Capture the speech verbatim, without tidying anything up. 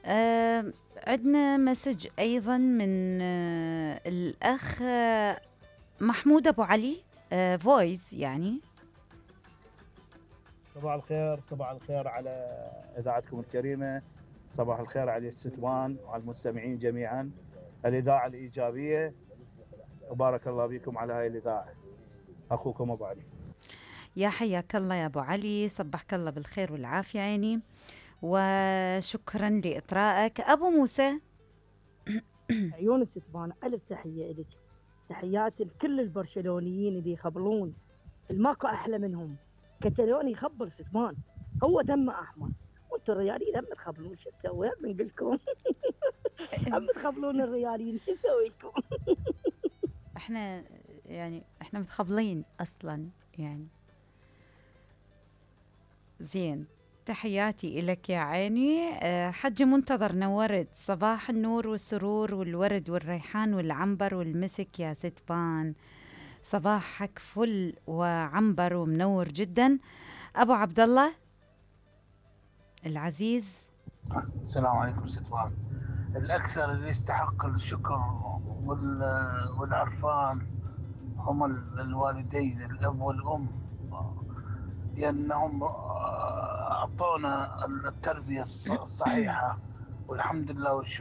آه عندنا مسج أيضا من آه الأخ آه محمود أبو علي، آه فويس يعني. صباح الخير، صباح الخير على إذاعتكم الكريمة، صباح الخير على الستوان وعلى المستمعين جميعا. الإذاعة الإيجابية، وبارك الله بكم على هاي الإذاعة. أخوكم أبو علي. يا حياك الله يا أبو علي، صبحك الله بالخير والعافية عيني، وشكرا لإطرائك. أبو موسى. عيون الستبان، ألف تحية إلك، تحيات لكل البرشلونيين اللي يخبلون، الماكو أحلى منهم. كتالوني يخبل ستبان، هو دمه أحمر، وانتم الرياليين هم تخبلون. شو نسوي؟ هم نقول لكم هم تخبلون الرياليين، شو نسوي لكم؟ احنا يعني احنا متخبلين أصلا يعني. زين، تحياتي إلك يا عيني. أه حج منتظر، نورت. صباح النور والسرور والورد والريحان والعنبر والمسك يا ستبان. صباحك فل وعنبر ومنور جدا. أبو عبد الله العزيز. السلام عليكم ستبان. الأكثر اللي يستحق الشكر والعرفان هم الوالدين، الأب والأم، لأنهم أعطونا التربية الصحيحة، والحمد لله والشكر.